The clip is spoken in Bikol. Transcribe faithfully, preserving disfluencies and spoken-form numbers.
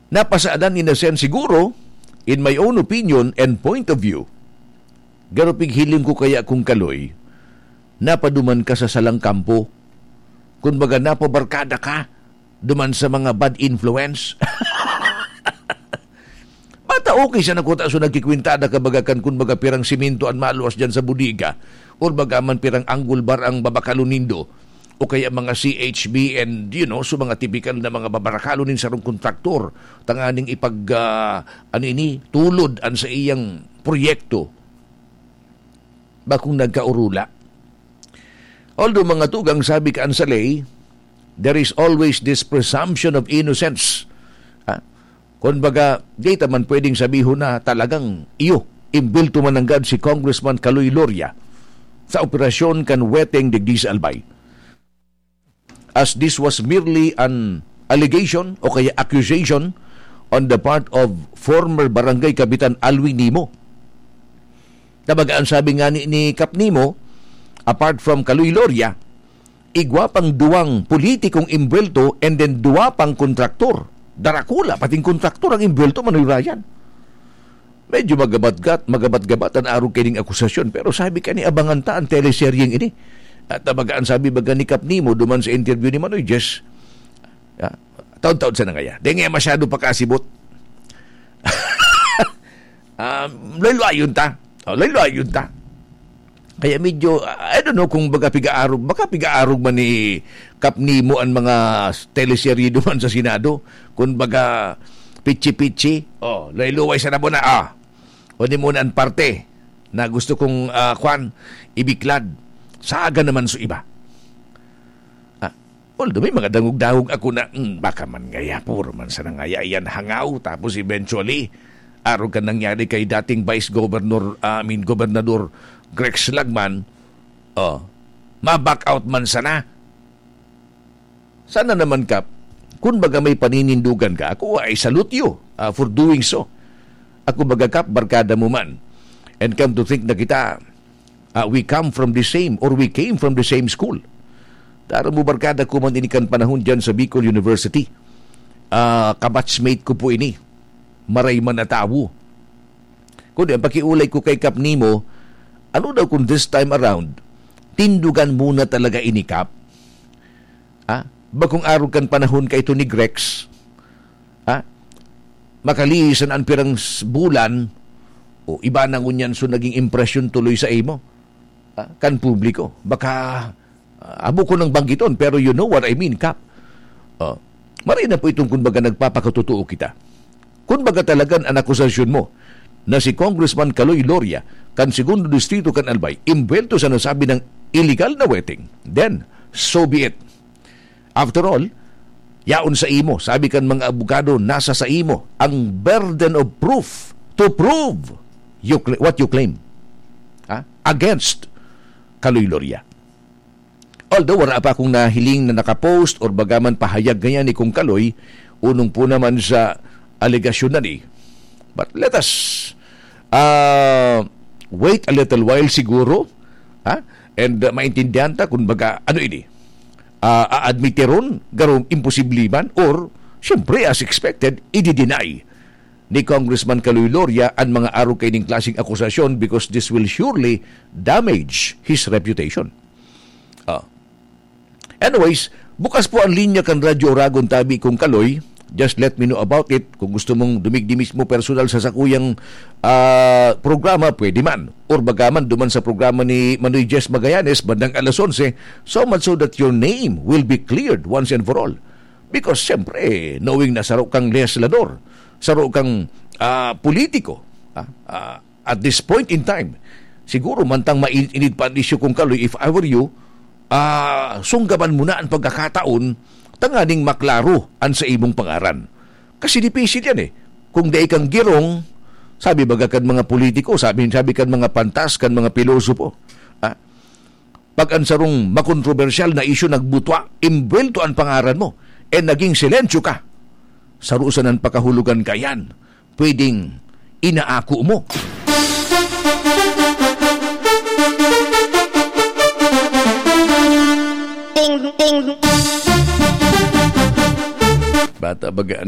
Napasadan in a sense siguro, in my own opinion and point of view. Garo pighiling ko kaya kung kaloy, napaduman ka sa salang kampo. Kun baga, napabarkada ka duman sa mga bad influence. Bata, okay siya na kuta, so nagkikwintada ka baga kan kun baga pirang simento an maluwas dyan sa bodega, or baga man pirang angle bar ang babakalon nindo, o kaya mga C H B and, you know, so mga tipikal na mga babarakalo nin sarong kontraktor, tanganing ipag, ah, ano ini, tulod an sa iyang proyekto, bakong nagkaurula. Although, mga tugang, sabi kan sa ley, there is always this presumption of innocence. Ah, kun baga, di ta man pwedeng sabihon na talagang iyo, imbelto man nanggad si Congressman Kaloy Loria sa operasyon kan weteng digdi sa Albay, as this was merely an allegation o kaya accusation on the part of former Barangay Kapitan Alwin Nimo. Tabaga, ang sabi nga ni, ni Kap Nimo, apart from Kaloy Loria, igwa pang duwang politikong imbwelto and then duwa pang kontraktor. Darakula, pating kontraktor ang imbwelto, Manoy Ryan. Medyo magabatgat, magabat-gabat an arog kining akusasyon. Pero sabi ka ni, abangan ta an teleseryeng ini. At tabaga, ang sabi baga ni Kap Nimo duman sa interview ni Manoy Jess, ah, taon-taon sa nangaya. Di nga masyado pakasibot. Ah, lalo ayon ta. Oh, lalo ayon ta. Kaya medyo, I don't know kung baga pigaarog, baka pigaarog man ni Kap Nimo an mga teleserye duman sa Senado. Kung baga, pitsi-pitsi. Oh, lay-luway sa nabo na, ah. O di muna an parte na gusto kong, ah, kwan, ibiklad. Saga naman sa iba. Ah, although may mga dangog-dangog ako na, "Hmm, baka man ngaya, puro man sana ngaya iyan hangaw." Tapos eventually, arog kan nangyari kay dating Vice Governor, ah, I mean, Gobernador Grex Lagman, oh, ma-back out man sana. Sana naman, Kap, kun baga may paninindugan ka, ako, I salute you, ah, for doing so. Ako baga, Kap, barkada mo man. And come to think na kita, ah, we come from the same, or we came from the same school. Taro mo, barkada ko man ini kan panahon dyan sa Bicol University. Ah, kabatchmate ko po ini. Maray man na tawo. Kundi ang pakiulay ko kay Kap Nimo, ano daw kung this time around, tindugan muna talaga ini, Kap? Ah, bakong arog kan panahon kaito ni Grex? Ah, makalisan an pirang s-, bulan, o iba na ngunyan, so naging impresyon tuloy sa imo, ah, kan publiko. Baka, ah, abo ko nang banggiton, pero you know what I mean, Kap. Oh, maray na po itong, kumbaga, nagpapakatotoo kita. Kun baga talagan an akusasyon mo na si Congressman Kaloy Loria kan Segundo Distrito kan Albay imbwelto sa nasabi ng illegal na weteng, then, so be it. After all, yaon sa imo, sabi kan mga abogado, nasa sa imo ang burden of proof to prove you cl-, what you claim, ha, against Kaloy Loria. Although wala pa akong nahiling na nakapost or bagaman pahayag ngayon ni Kong Kaloy, unong po naman sa alegasyon na ni. But let us, ah, wait a little while siguro, ha? And, ah, maintindihan ta kung baga, ano ini? Ah, aadmitiron, garo imposible man, or, siyempre, as expected, i-deny ni Congressman Kaloy Loria an mga arog kaining klaseng akusasyon because this will surely damage his reputation. Ah. Anyways, bukas po ang linya kan Radyo Oragon tabi, Kong Kaloy. Just let me know about it. Kung gusto mong dumigdi mismo personal sa sakuyang, ah, programa, pwede man. Or baga man, duman sa programa ni Manoy Jess Magallanes, bandang alas onse, so much so that your name will be cleared once and for all. Because, siyempre, knowing na saro kang legislador, saro kang, ah, politiko, ah, ah, at this point in time, siguro mantang mainit-init pa an isyu, Kong Kaloy, if I were you, ah, sunggaban mo na an pagkakataon tanganing maklaro an sa imong pangaran. Kasi dipisil yan eh. Kung dai kang girong, sabi baga kan mga politiko, sabi, sabi kan mga pantas, kan mga pilosopo, ah, pag an sarong makontrobersyal na isyu nagbutwa, imbwelto an pangaran mo, and naging silensyo ka, saro sa nan pakahulugan ka yan, pwedeng inaako mo. Ting, ting. Bata baga